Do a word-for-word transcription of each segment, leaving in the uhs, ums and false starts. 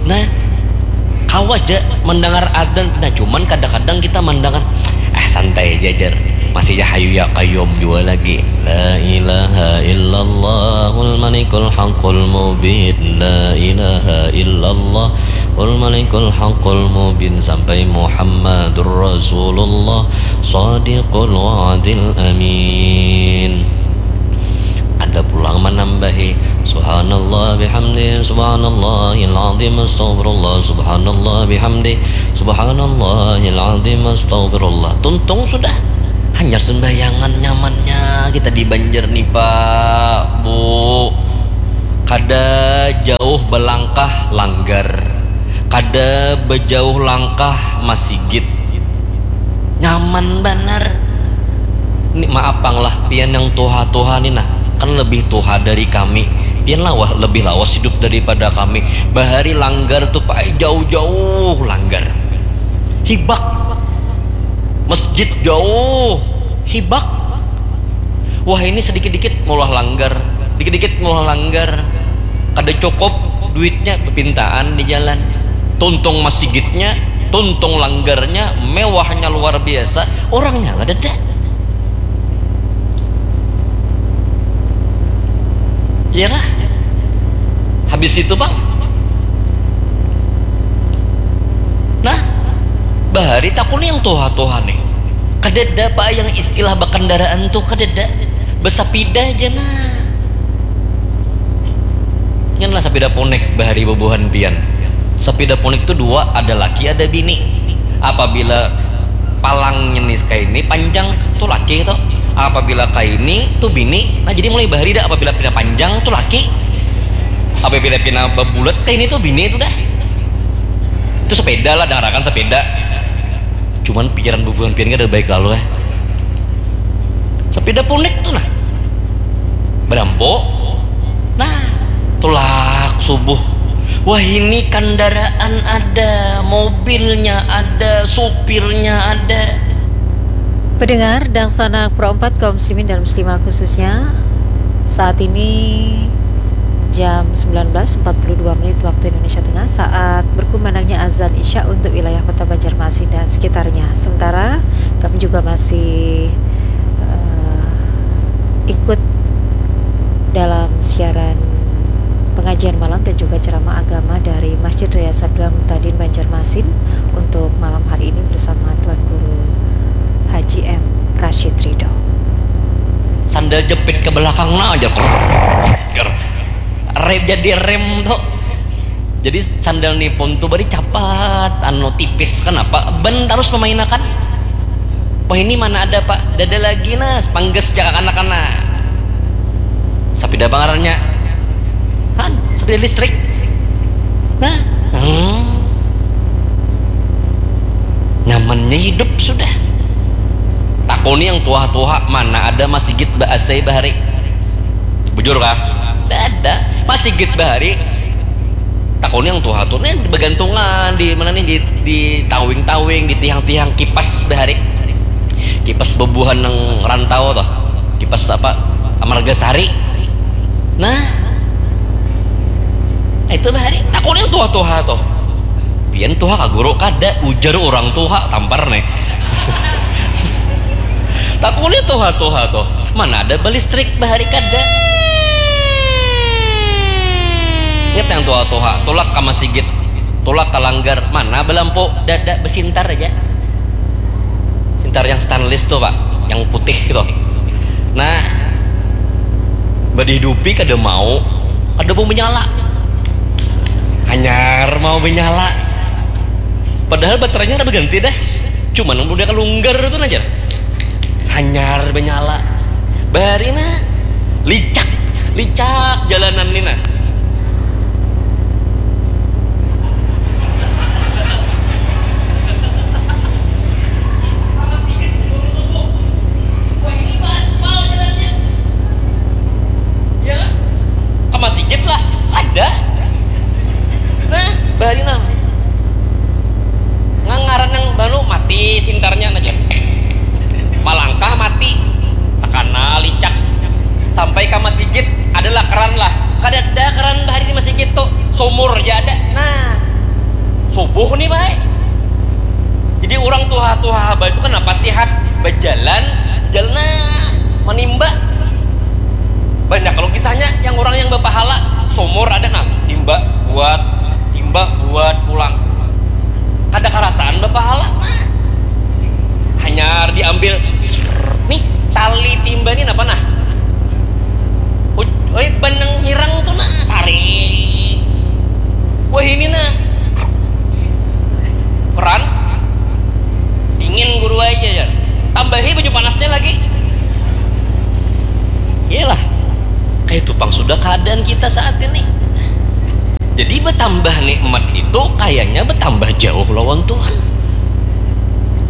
Nah, kawa ja mendengar adan. Nah, cuman kadang-kadang kita mendengar, ah, santai aja, jar. Masih ya hayu ya kayum juga lagi. La ilaha illallahul malikul haqqul mubin. La ilaha illallahul malikul haqqul mubin sampai Muhammadur Rasulullah sadiqul wa'dil amin. Ada pulang menambahi, subhanallah bihamdi, subhanallahil azim, astaghfirullah, subhanallah bihamdi, subhanallahil azim, astaghfirullah. Tuntung sudah. Hanya sembahyangan nyamannya kita di Banjar nih, Pak, Bu. Kada jauh belangkah langgar. Kada bejauh langkah masigit. Nyaman banar. Ni maaf pang lah, pian yang tuha-tuha ni nah, kan lebih tuha dari kami. Pian lawas, lebih lawas hidup daripada kami. Bahari langgar tu, Pak, jauh-jauh langgar. Hibak. Masjid jauh. Hibak. Wah, ini sedikit-dikit maulah langgar, dikit-dikit maulah langgar. Kada cukup duitnya, bepintaan di jalan. Tuntung masigitnya, tuntung langgarnya, mewahnya luar biasa, orangnya kadada. Iya kah? Habis itu, Bang. Nah, bahari takuni yang tuha-tuha nih. Kadada, Pak, yang istilah bakandaraan tuh kadada. Basapida aja nah. Ingat lah sapida punik bahari bubuhan pian. Sapida punik tuh dua, ada laki, ada bini. Apabila palangnya nih kaini panjang tuh laki tuh. Apabila kaini tuh bini. Nah, jadi mulai bahari dah, apabila pina panjang tuh laki. Apabila pina babulat kaini tuh bini tuh dah. Itu sepeda lah, dangarakan sepeda. Cuman pikiran bubuhan pian kada baik lalu, eh. Sepeda punik tuh nah. Badampo. Nah, tulak subuh. Wah, ini kandaraan ada, mobilnya ada, supirnya ada. Pendengar, dangsanak Pro empat, kaum muslimin dan muslimah khususnya, saat ini jam sembilan belas empat puluh dua menit waktu Indonesia Tengah, saat berkumandangnya azan Isya untuk wilayah Kota Banjarmasin dan sekitarnya. Sementara kami juga masih, eh, ikut dalam siaran pengajian malam dan juga ceramah agama dari Masjid Raya Sabda Muhtadin Banjarmasin untuk malam hari ini bersama Tuan Guru Haji M Rashid Ridho. Sandal jepit ke belakang nah aja. Rem, jadi rem tuh. Jadi sandal nipun tuh bari capat, anu, tipis, kenapa? Ban tarus memainakan. Wah, ini mana ada, Pak? Dada lagi nah, pangges cak anak-anak. Sapida apa ngarannya? Han, sapida listrik. Nah, hmm. Nyamannya hidup sudah. Takuni yang tuha-tuha, mana ada masigit ba A C bahari? Bujur kah? Dada. Masigit bahari. Takuni yang tuha tuh nih bagantungan di mana nih, di, di tawing-tawing, di tiang-tiang, kipas bahari. Kipas bubuhan nang rantau tuh. Kipas apa? Marga Sari. Nah. Itu bahari. Takuni yang tuha-tuha tuh. Pian tuha kah guru? Kada, ujar urang tuha, tampar nih. Takuni tuha-tuha tuh. Mana ada balistrik bahari, kada. Ingat yang tuha-tuha, tulak ka masigit, tulak ka langgar, mana balampu, dada, basintar aja. Sintar yang stainless tuh, Pak, yang putih gitu. Nah, badihidupi kada mau, kada mau menyala. Hanyar mau menyala. Padahal baterainya kada baganti dah. Cuman nang udah kalunggar tuh aja. Hanyar menyala. Bahari nah, licak, licak jalanan ni nah. Ya, ke masigit lah, ada. Nah, bahari nah. Ngangaran yang baru mati sintarnya aja. Malangkah mati, takana licak. Sampai ke masigit adalah keran lah. Kada ada keran bahari di masigit tuh, sumur aja ada. Nah, Tubuh nih baik. Jadi orang tuha-tuha abah itu kenapa sehat, berjalan, jalan, nah, menimba. Banyak kalau kisahnya yang orang yang berpahala, sumur ada, nah, timba buat, timba buat pulang. Kada karasaan berpahala, nah. Hanya diambil, srrr, nih, tali timba nih apa nah? Oi, benang hirang tuh nah, tarik. Wah, ini nah. Peran dingin guru aja ya. Tambahi baju panasnya lagi. Iyalah. Kayak itu pang sudah keadaan kita saat ini. Jadi bertambah nikmat itu kayaknya bertambah jauh lawan Tuhan.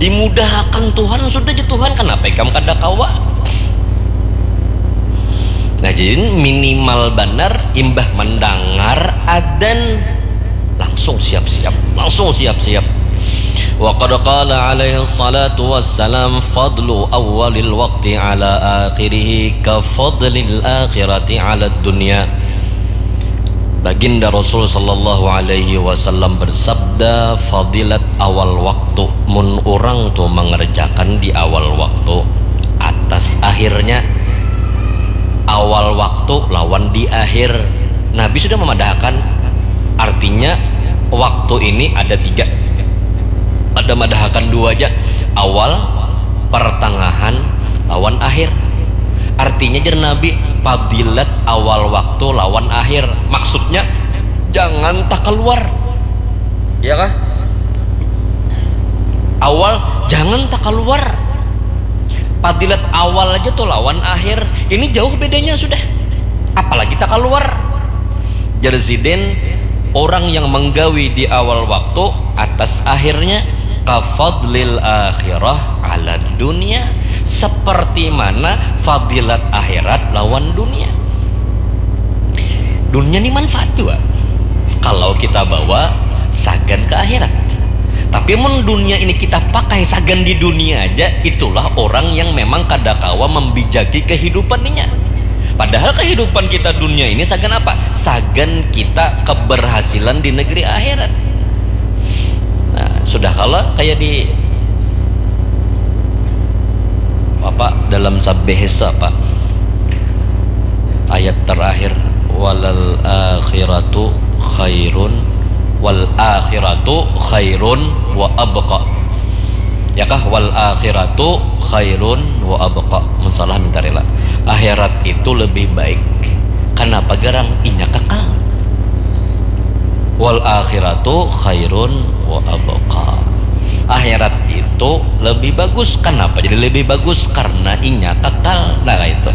Dimudahakan Tuhan, sudah aja Tuhan, kenapa ikam kada kawa? Nah, jadi minimal banar imbah mendengar adan langsung siap-siap, langsung siap-siap. Wa qad qala alaihi salatu wassalam, fadlu awwalil waqti ala akhirihi ka fadlil akhirati ala dunya. Baginda Rasul sallallahu alaihi wasallam bersabda, fadilat awal waktu, mun urang tu mengerjakan di awal waktu atas akhirnya. Awal waktu lawan di akhir. Nabi sudah memadahakan, artinya waktu ini ada tiga. Ada madahakan dua aja, awal, pertengahan, lawan akhir. Artinya, jer Nabi, fadilat awal waktu lawan akhir. Maksudnya, jangan tak keluar. Ya kah? Awal, jangan tak keluar. Fadilat awal aja tuh lawan akhir. Ini jauh bedanya sudah. Apalagi tak keluar. Jer sidin, orang yang menggawi di awal waktu atas akhirnya ka fadlil akhirah ala dunia, seperti mana fadilat akhirat lawan dunia. Dunia ini manfaat juga kalau kita bawa sagan ke akhirat. Tapi mun dunia ini kita pakai sagan di dunia aja, itulah orang yang memang kada kawa membijaki kehidupan inya. Padahal kehidupan kita dunia ini sagan apa? Sagan kita keberhasilan di negeri akhirat. Nah, sudah kalau kayak di apa dalam Sabbih itu apa? Ayat terakhir, walal akhiratu khairun, wal akhiratu khairun wa abqa. Ya kah? Wal akhiratu khairun wa abqa. Mun salah minta rela. Akhirat itu lebih baik. Kenapa garang? Inya kekal. Wal akhiratu khairun wa abqa. Akhirat itu lebih bagus. Kenapa jadi lebih bagus? Karena inya kekal. Nah, itu.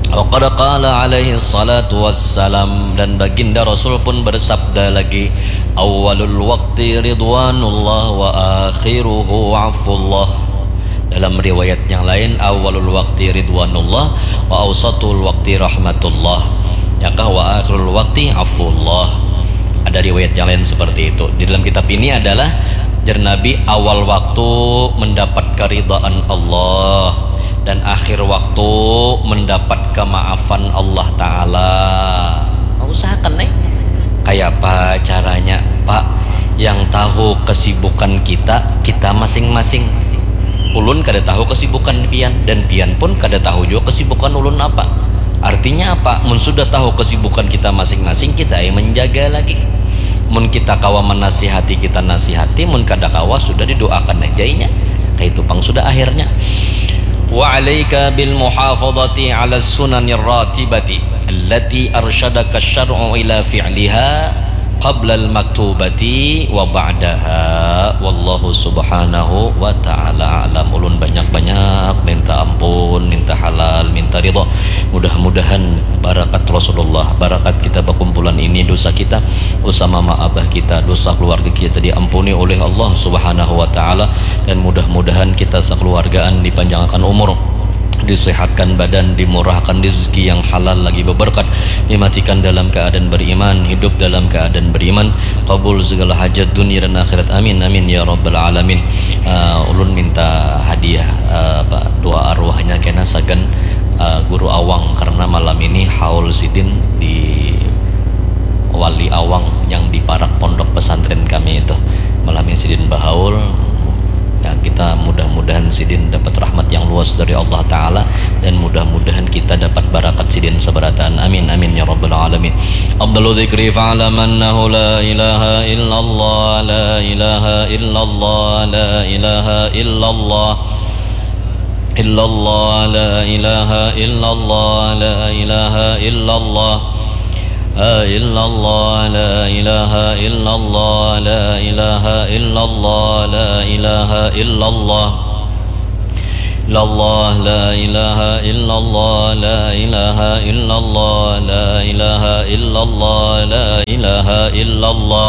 Wa qad qala alaihi salatu wassalam, dan baginda Rasul pun bersabda lagi, awalul waqti ridwanullah wa akhiruhu afullah. Dalam riwayat yang lain, awalul waqti ridwanullah wa ausatul waqti rahmatullah. Yakah wa akhirul waqti afullah. Ada riwayat yang lain seperti itu. Di dalam kitab ini adalah jer Nabi awal waktu mendapat keridhaan Allah dan akhir waktu mendapat kemaafan Allah Ta'ala. Usahakan nih. Kayak apa caranya, Pak? Yang tahu kesibukan kita, kita masing-masing. Ulun kada tahu kesibukan pian, dan pian pun kada tahu juga kesibukan ulun apa. Artinya apa? Mun sudah tahu kesibukan kita masing-masing, kita yang menjaga lagi. Mun kita kawa menasihati, kita nasihati, mun kada kawa, sudah didoakan aja inya. Kayak itu pang sudah akhirnya. Wa alaika bil muhafadati ala sunanir ratibati allati arsyadaka syar'u ila fi'liha qablal maktubati wa ba'daha. Wallahu subhanahu wa ta'ala alam. Ulun banyak-banyak minta ampun, minta halal, minta ridha. Mudah-mudahan barakat Rasulullah, barakat kita bakumpulan ini, dosa kita, dosa mama abah kita, dosa keluarga kita diampuni oleh Allah subhanahu wa ta'ala. Dan mudah-mudahan kita sekeluargaan dipanjangkan umur, disehatkan badan, dimurahkan rezeki yang halal lagi beberkat, dimatikan dalam keadaan beriman, hidup dalam keadaan beriman, kabul segala hajat dunia dan akhirat. Amin, amin, ya rabbal alamin. Uh, ulun minta hadiah, uh, apa, doa arwahnya kena sagan, uh, Guru Awang, karena malam ini haul sidin di Wali Awang yang di parak pondok pesantren kami itu. Malam ini sidin bahaul. Nah, kita mudah-mudahan sidin dapat rahmat yang luas dari Allah Ta'ala, dan mudah-mudahan kita dapat barakat sidin sabarataan. Amin, amin, ya rabbal alamin. Afdalu dzikri fa'lam annahu la ilaha illallah, la ilaha illallah, la ilaha illallah. Illallah, la ilaha illallah, la ilaha illallah. Ah, illallah, la ilaha illallah, la ilaha illallah, la ilaha illallah. Illallah, la ilaha illallah, la ilaha illallah, la ilaha illallah, la ilaha illallah.